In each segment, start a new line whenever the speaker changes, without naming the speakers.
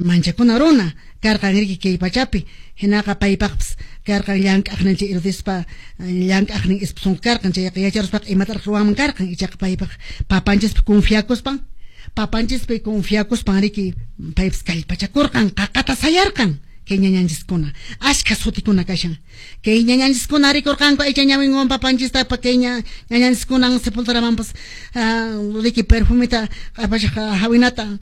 Manchakuna runa karqan riki kay pachapi, hinaqa paypaqpas karqan llank'aqnin chay Herodespa llank'aqnin esposon karqan, chayqa yacharuspaqa imataraq ruwanman karqan, ichaqa paypaq papanchispi confiakuspan, papanchispi confiakuspan riki paypas kallpachakurqan, qaqata sayarqan. Kay ñañanchiskuna ashkha sutikuna kashan, kay ñañanchiskuna rikurqanku aycha ñawinwan papanchista, kay ñañanchiskunan sepulturamanpas riki perfumita q'apashaq hawinata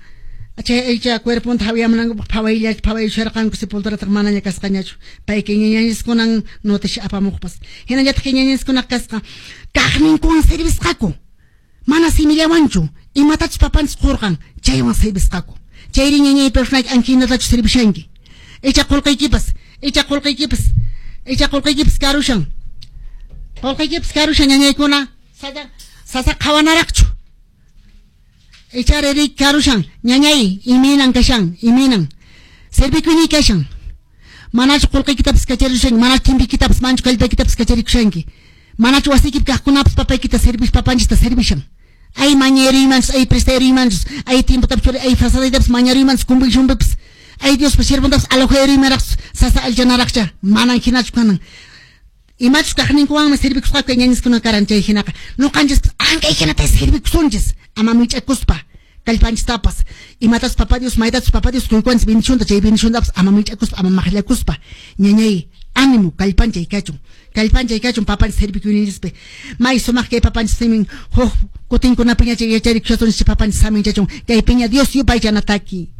chay aycha cuerponta hawiyamunankupaq phawayusharqanku, sepulturataq manaña kasqañachu. Pay kay ñañanchiskunan noticia apamuqpas. Hinallataq kay ñañanchiskunaqa kasqa kaqninkuwan servisqaku, mana simillawanchu, imatachus papanchis qurqan chaywan servisqaku. Chayri ñañay personaki ankinatachu servishanki. Icha qulqiykipas, icha qulqiykipas, icha qulqiykipas karushan. Qulqiykipas karushan ñañaykuna, sasa qhawanaraqchu. Icha riri karushan, ñañay imaynan kashan, imaynan. Servikuyniy kashan. Manachu qulqiykitapas kacharushanki, manachu timpikitapas, manachu kallpaykitapas kacharikushanki. Manachu wasiykipi kaqkunapas papaykita servis, papanchista servishan. Ay mañariymanchus, ay prestayrimanchus, ay tiempotapas, ay fasadaytapas mañariymanchus, conviccionpipas. Ay Diospa siervontapas alojayrimanraqchus, sasa alchanaraqcha, manan hinachu kanan. Imachus kaqninkuwanmi servikusqaku kay ñañiskuna karan chay hinaqa. Nuqanchispas ankay hinata servikusunchis, ama mich'akuspa kallpanchistapas. Imatachus papa Dios, maytachus papa Dios quykuwanchis bendicionta, chay bendiciontapas ama mich'akuspa, ama maqllakuspa. Ñañay, ánimo, kallpanchay kachun. Kallpanchay kachun papanchis servikuyninchispi. May sumaq kay papanchis simin, huk kutinkunapiña chay yacharikusasunchis papanchis saminchachun. Kay piña Dios yupaychanataki.